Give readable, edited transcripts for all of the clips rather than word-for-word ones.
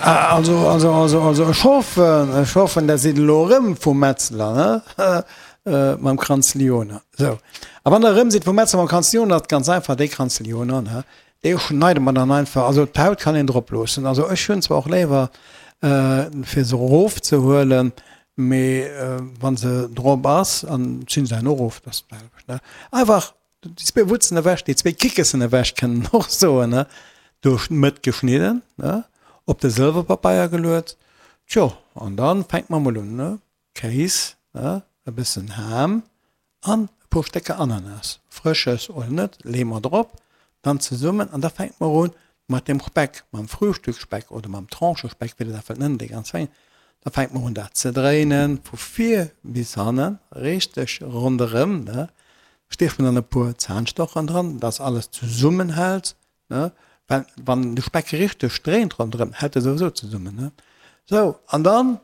Also, also, also, also, ech hoffen, ech hoffen, der sidd elo erëm vum Metzler, ne? Mam Kranz Lyoner. Sou. A wann der erëm sidd vum Metzler mam Kranz Lyoner, ass et ganz einfach, dee Kranz Lyoner, ne, dee schneide mer dann einfach, also d'Haut kann een drop loossen. Also ech hunn zwar och léiwer, fir se erofzehuelen, mee wa se drop ass, an zinn se herno erof, dat ass d'selwecht, ne. Einfach Déi zwee Wutzen ewech, déi zwee Kickessen ewech kënnt en och soen, ne, duerch d'Mëtt geschnidden, ne, op de Sëlwerpapeier geluet. Tjo, an dann fänkt mer mol un, ne, Kéis, ne, e bëssen Ham an e puer Stécker Ananas, frësches oder net, leeë mer drop, dann zesummen an da fänkt mer un mat dem Speck, mam Frühstücksspeck oder mam Tranchespeck, wéi der dat wëllt nennen, dee ganz fein, da fänkt mer un dat ze dréinen, vu vir bis hannen, richteg ronderëm, ne, Stiecht mer dann e puer Zahnstochern dran, dass alles zesummenhält, ne, well wann de Speck richteg dréint ronderëm, hält e souwisou zesummen, ne. Sou, an dann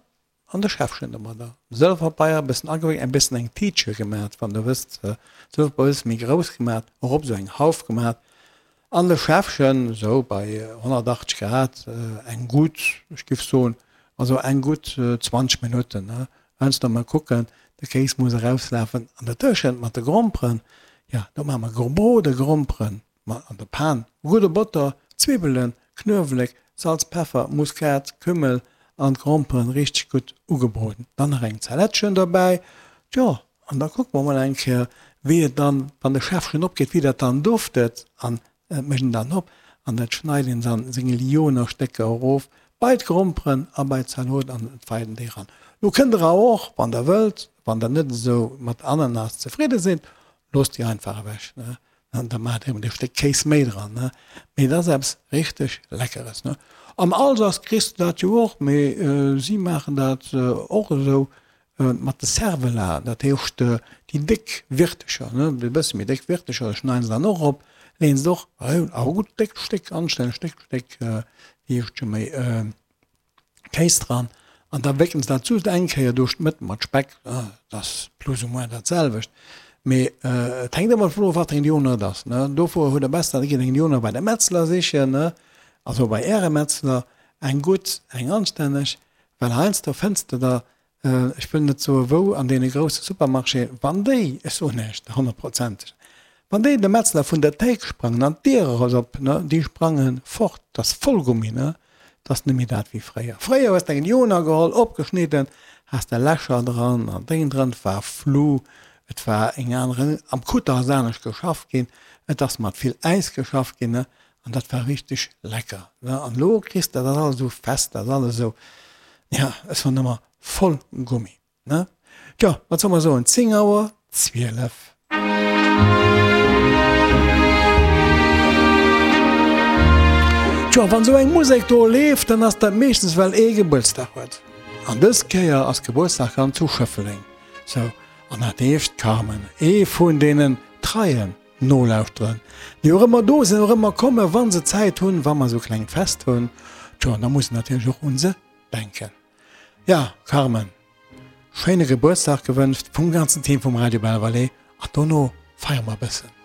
an de Schäffchen domadder, Sëlwerpapeier e bëssen agewéckt, e bëssen eng Tiitche gemat, wann der wësst, Sëlwerpapeier e bësse méi grouss gemat, erop esou eng Hauf gemat, an de Schäffchen, esou bei 180 Grad, eng gutt, ech giff soen, also eng gutt 20 Minutten, ne, Heiansdo mol kucken, de Kéis muss erauslafen. An dertëschent mat de Gromperen, jo, do maache mer gebrode Gromperen mat an der Pan, gudde Botter, Zwibbelen, Knuewelek, Salz, Peffer, Muskat, Kümmel an d'Gromperen richteg gutt ugebroden. Dann nach eng Zalättchen dobäi, tjo, an da kucke mer mol eng Kéier, wéi et dann, wann de Schäffchen opgeet, wéi dat dann duftet. An Et mécht een dann op an dat schneit een dann seng Lyoner Stécker erof bei d'Gromperen a bei d'Zalot an et feit een déi ran. Lo kënnt der awer och, wann der wëllt, wann der net esou mat Ananas zefridde sidd, loosst déi einfach ewech, ne, an da maacht der eben e Stéck Kéis méi dran, ne. Mee et ass eppes richteg Leckeres, ne. Am Alsace kriss de dat jo och, mee si maachen dat och esou, Mat de Cervelat, dat heescht déi déck Wirtecher, ne, déi bësse méi déck Wirtecher, déi schneiden se dann och erop, leeën se och awer gutt déckt Stéck, anstänneg déckt Stéck, wéi heescht scho méi, Kéis dran an da wéckelen se dat just eng Kéier duerch d'Mëtt mat Speck, dat ass plus ou moins dat selwecht, mee et hänkt ëmmer dovun of, wat fir eng Lyoner et ass, ne. Dofir hutt der besser, der gitt eng Lyoner bei de Metzler sichen, ne, also bei Äre Metzler, eng gutt, eng anstänneg, Well heiansdo fënns de der, ech wëll net soe wou, an deene grousse Supermarchéen, wann déi, ech soen näischt honnertprozenteg, wann déi de Metzler vun der Théik sprangen an d'Dier ass op, ne, déi sprange fort, dat ass voll Gummi, ne, dat ass net méi dat wéi fréier. Fréier hues de eng Lyoner geholl, opgeschnidden, has de Lächer dran an Déng dran, et war flu, et war eng aner, am Kutter ass anescht geschafft ginn, et ass mat vill Äis geschafft ginn, ne, An dat war richteg lecker, ne? An elo kriss de dat alles esou fest, dat ass alles esou, ja, ech soen ëmmer, voll Gummi, ne? Tjo, wat soll mer soen, 10 Auer 12. Tjo, wann esou eng Musek do leeft, dann ass dat meeschtens well ee Gebuertsdag huet. An dës Kéier ass Gebuertsdag dann zu Schëffleng. Sou, an dat heescht d'Carmen, ee vun deenen treien Nolauschteren, déi och ëmmer do sinn, och ëmmer kommen, wa se Zäit hunn, wa mer esou klengt Fest hunn. Tjo, an da muss een natierlech och un se denken. Ja, Carmen, schéine Gebuertsdag gewënscht vum ganzen Team vum Radio Belval an dono feiere mer e bëssen.